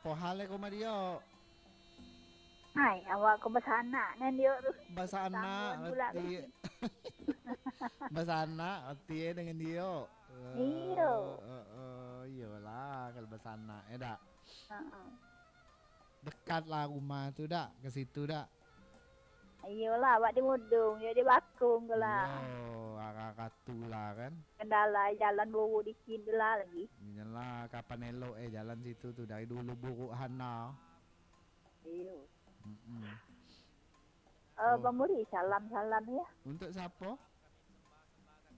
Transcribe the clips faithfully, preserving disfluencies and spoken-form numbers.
Apo hal ko ma Dio? Hai, awak ko basanak nan Dio tu. Basanak, Sambung pula arti. Basanak, arti eh, dengan Dio. Iyo. Eh, eh, eh, iyolah, kalau basanak, eh, dak? Heeh. Dekat lah rumah tu, dak? Ke situ, dak? Iyolah, awak di Mudung, yo di Bakung tu lah. Iyo, arah-arah tu lah kan. Kendala jalan buruk dikit tu lah lagi. Iyolah, kapan elok eh jalan situ tu, dari dulu buruk hana. Iyo. Mm-mm. Eh, Oh. Bang Muri, salam-salam ya. Untuk siapa?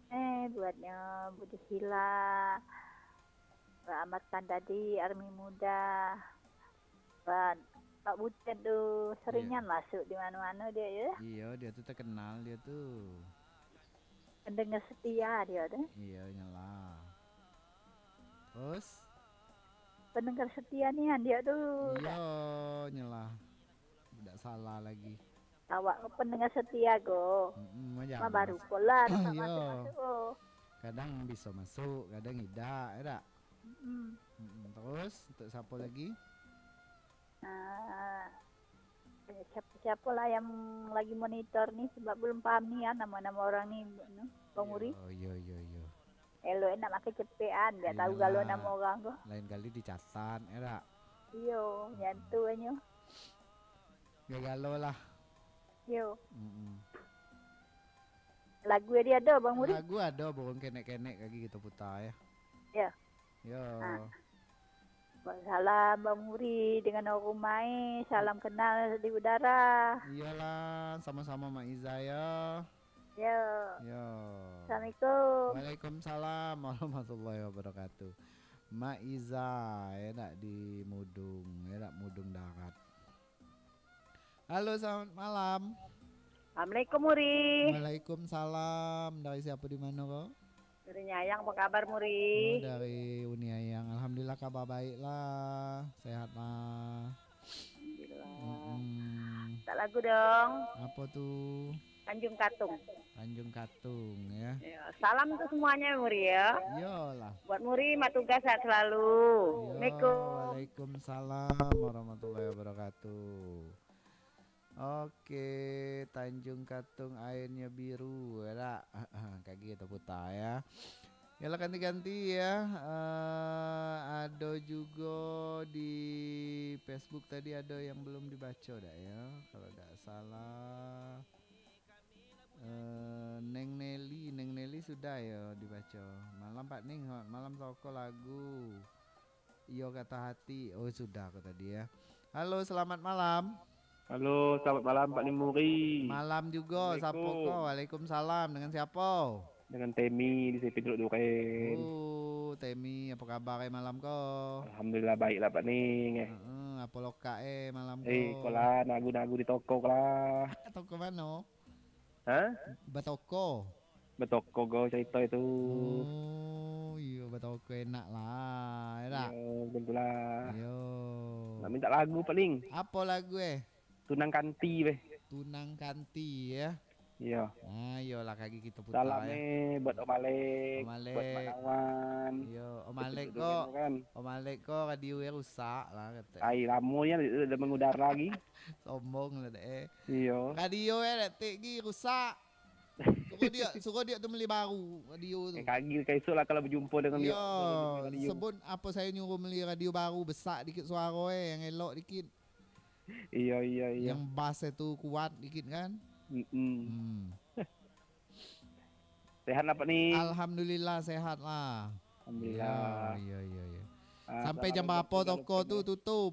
Eh, buatnya Budi Sila, Rahmat Kandadi, Army Muda, Pak, Pak Butet tu seringan Iya. masuk di mana-mana dia ya. Iya, dia tu terkenal dia tu. Pendengar setia dia tu. Iya, nyalah. Terus? Pendengar setia nian dia tu. Iya, nyalah. Tidak salah lagi. Awak ko pendengar setia ko. Mm-mm, Ma jangan baru mas- ko lah, tak Iya. masuk-masuk ko. Kadang bisa masuk, kadang tidak, ya tak? Mm-mm. Mm-mm, terus, untuk siapa lagi? Ah, siapa-siapa lah yang lagi monitor ni, sebab belum paham ni ya, nama-nama orang ni, anu, Bang Muri. Yo, yo, yo, yo. Elok nak makai cepekan, biar tahu Iyalah. galo nama orang tu. Lain kali dicatat, ya tak? Iyo, nyantu anyo. Gagalo lah. Yo. Mm-mm. Lagu dia ada, Bang Muri? Lagu ada, burung kenek-kenek lagi kita putar, ya. Ya. Yo. Ha. Salam, Bang Muri, dengan orang rumah, eh. Salam kenal di udara. Iyalah, sama-sama Mak Iza, ya. Yo. Yo. Assalamualaikum. Waalaikumsalam warahmatullahi wabarakatuh. Mak Iza, ya, nak di Mudung, ya, nak Mudung Darat. Halo, selamat malam. Assalamualaikum, Muri. Waalaikumsalam. Dari siapa, di mana, ko? Dari Nyayang, apa kabar, Muri? Oh, dari Uni Ayang. Alhamdulillah, kabar baik lah. Sehat lah. Alhamdulillah. Mm-mm. Tak lagu dong. Apa tu? Tanjung Katung. Tanjung Katung, ya. Ya, salam untuk semuanya, Muri, ya. Iyalah. Buat Muri, mak tugas sehat selalu. Yo, Assalamualaikum. Waalaikumsalam warahmatullahi wabarakatuh. Oke, Tanjung Katung airnya biru, ya tak? Kagi kita putar, ya. Yalah, ganti-ganti, ya. Eh, ada juga di Facebook tadi ada yang belum dibaca, dak, ya? Kalau dak salah, eh, Neng Nelly, Neng Nelly sudah ya dibaca. Malam Pak Ning, selamat malam, soko lagu. Iyo Kata Hati. Oh, sudah ko tadi ya. Halo, selamat malam. Halo, selamat malam, Pak Ning Muri. Malam juga, siapa Assalamualaikum. ko? Waalaikumsalam. Dengan siapa? Dengan Temi di Sipin Teluk Duren. Oh, Temi, apa kabar eh malam ko? Alhamdulillah, baik lah, Pak Ning, eh. Heeh, apa lokak eh malam Eh, ko? ko lah, nagu-nagu di toko ko lah. Toko mano? Hah? Batoko. Batoko ko cerita itu. Oh, iyo, batoko enak lah, ya tak? Iyo, betul lah. Iyo. Nak minta lagu, Pak Ning. Apa lagu eh? Tunang Kanti, beh. Tunang Kanti, ya. Iyo. Ah, iyolah, kagi kita putar, Salam ya. eh buat Om Alek, Om buat Mak Alek. Nawan. Iyo, Om Alek Betul-betul ko. kan. Om Alek ko radio eh rusak lah, kata. Ai, lamo nian dak mangudara lagi. Sombong lah dek eh. Iyo. Radio eh dak tek gi rusak. Suruh dia, suruh dia tu beli baru radio tu. Eh, kagi ka esok lah kalau berjumpa dengan Iyo, dia. Kalau berjumpa radio. sebut apa saya nyuruh beli radio baru, besak dikit suara eh, yang elok dikit. Iyo, iyo, iyo. Yang bass itu kuat dikit kan? Mm-mm. Hmm. Sehat lah, Pak Ning? Alhamdulillah, sehat lah. Alhamdulillah. Iyo, iyo, iyo, iyo. Ah, Sampai salam jam untuk berapa keluarga toko tu Lutfi. tutup?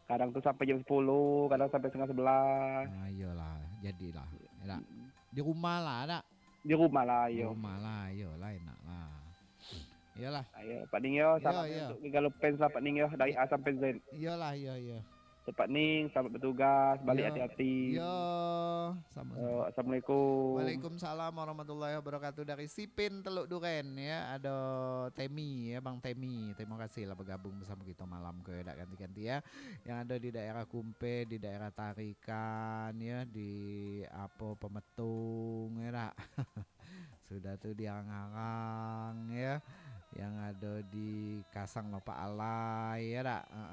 Kadang tu sampai jam sepuluh, kadang sampai setengah sebelas. Ah, iyolah, jadilah. Enak. Mm-mm. Di rumah lah, nak? Di rumah lah, Di iyo. rumah lah, iyolah, enak lah. Iyolah. Ayo, Pak Ning yo, Iyo, salam iyo. untuk Gigalo Fans lah, Pak Ning yo, dari I- A sampai Z. Iyolah, iyo, iyo. Untuk Pak Ning, selamat bertugas, balik Iyo. hati-hati. Iyo, sama-sama. Yo, Assalamualaikum. Waalaikumsalam warahmatullahi wabarakatuh, dari Sipin Teluk Duren, ya, ada Temi, ya, Bang Temi. Terima kasih lah bergabung bersama kita malam ko, ya, dak ganti-ganti, ya. Yang ada di daerah Kumpe, di daerah Tarikan, ya, di apa, Pemetung, ya, dak? Sudah tu di Arang-Arang, ya, yang ada di Kasang Lopak Alai, ya dak? Heeh,